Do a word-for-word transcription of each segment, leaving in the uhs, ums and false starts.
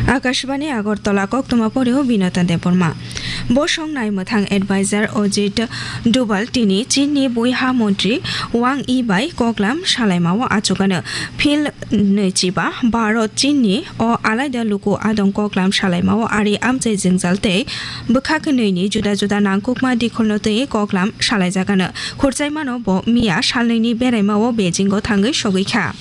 Akashbani Agartala, koktwma poreo Binata Debbarma. Bosong naimwthang advisor Ajit Doval tini Chinni buiha montri Wang Yi bai koklam salaimao achukano. Phil nwichiba Bharat Chinni o alaida luku adong koklam salaimao ari amchai jwngjal tei bwkhak nwi ni juda juda nangkukma dikholno twi koklam salaijakano. Khurchaimano bo miya salnwi ni beraimao Beijing o thangwi sogwi kha.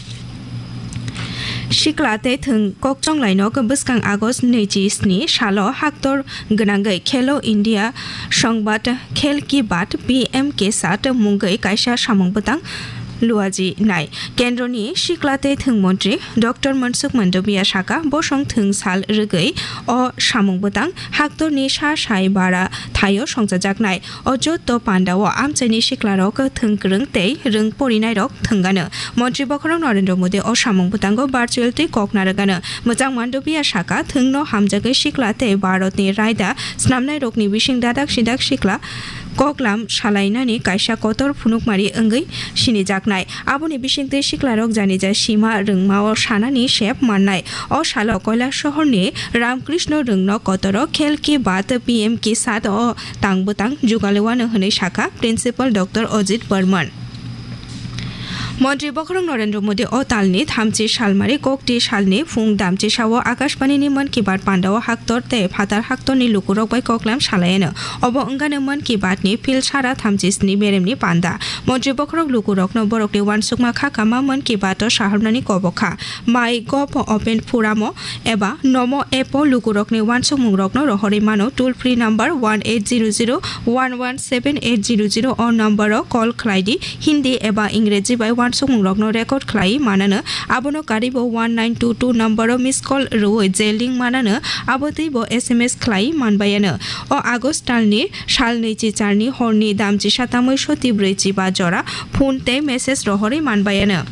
Sikla tei thwng kokchonglai no bwskang August nwichi sni salo haktor gwnangwi Khelo India Songbat Khel Ki Baat P M Ke Saath mungwi kaisa samung bwtang luaji nai. Kendroni sikla tei thwng montri Doctor Mansukh Mandaviya saka, bosong thwng sal rwgwi o samung bwtang haktorni sa sai bara thaio songchajaknai. O joto pandao amchaini siklarok thwng kwrwng tei rwng porinairok thwngano. Montri bokhorok Narendra Modi o samung bwtango virtual tei kok narwgano. Mwchang Mandaviya saka, thwngno hamjagwi sikla tei Bharatni raida snamnairokni bising dadak sidak sikla koklam salainani kaisa kotor phunukmari wngwi sinijaknai. Aboni bisingtwi siklarok janija sima rwngmao sanani sep mannai. O salo Kailash sohorni Ramkrishna Rwngno kotoro Khel Ki Baat P M Ke Saath o tang bwtang jugalewano hwnwi sakha Principal Doctor Ajit Barman. Montri bokhorok Narendra Modi o talni thamchi salmari kokti salni phung damchisao Akashbani ni Mann Ki Baat pandao haktor tei phatar haktorni lukurok bai koklam salaiano. Obo wngano Mann Ki Baat ni phil sara thamchi sni beremni panda. Montri bokhorok lukurokno borokni uansukma kha kama Mann Ki Baat o saharnani kobokha. My Gov Open Forum o eba Nomo app o lukurokni uansukmungrokno rohorwi mano. Toll free number one eight zero zero one one seven eight zero zero o number o call khlai di. Hindi eba Ingreji bai uansukmungrokno record khlai manano. Abono karibo one nine two two number o miss call rwui je link manano, abo twibo S M S khlai manbayano. O August talni sal nwichi charni horni damchisa tamwi soti brwichi ba jora phone tei message rohorwi manbayano.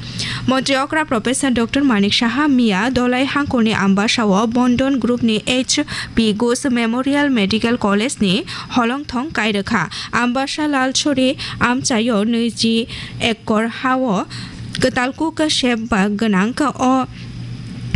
Montri okra Professor Doctor Manik Saha miya Dolai hangkorni Ambasao Bondon Group ni H P Ghosh Memorial Medical College ni holongthong kairwkha. Ambasa Lalchori amchaio nwichi ekor hao kwtal kuk sep ba gwnang o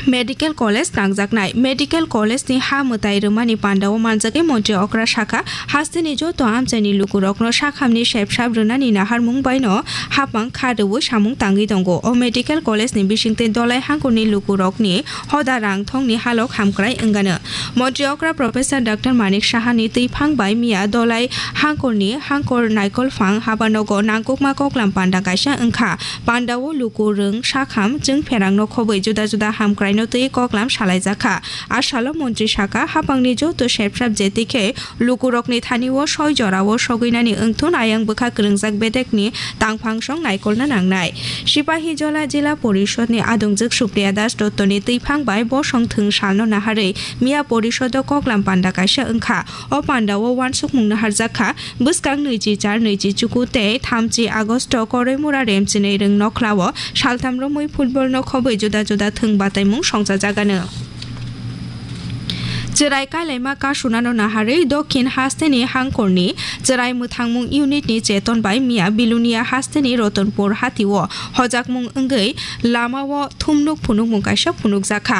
Medical College tangjaknai. Medical College ni ha mwtai rwmani pandao manjagwi Montri okra sakha, hasteni joto amchaini lukurokno sakhamni sepsap rwnani naharmung baino hapang kha rwui samung tangwi tongo. O Medical College ni bisingtwi Dolai hangkorni lukurokni hoda rang thongni halok hamkrai wngano. Montri okra Professor Doctor Manik Saha ni twiphang bai miya Dolai hangkorni hangkor naikolphang habanogo nangkukma koklam panda kaisa wngkha. Pandao luku rwng sakham chwng pherangno khobwi juda juda hamkraino twi koklam salaijakha. A salo montri saka, hapangni joto sepsap jetikhe lukurokni thanio soi jorao sogwinani wngthun ayang bwkha kwrwngjak bedekni tangphangsong naikolna nangnai. Sipahijola Jila Porishodni adongjwk Supriya Das Dottoni twiphang bai bosong thwng salno naharwi miya porisodo koklam panda kaisa wngkha. O pandao uansukmung naharjakha. Bwskang nwichi char nwichi chuku tei thamchi Agosto Koroimura Remchinwi Rwng Nokhlao saltham romwi football no khobwi juda juda thwng bataimung songchajagano. Chwrai kailaima kasunano naharwi Dokhin hasteni hangkorni chwrai mwthangmung unit ni cheton bai miya Bilonia hasteni Rotonpur hatio hojakmung wngwi lamao thumnuk phunukmung kaisa phunukjakha.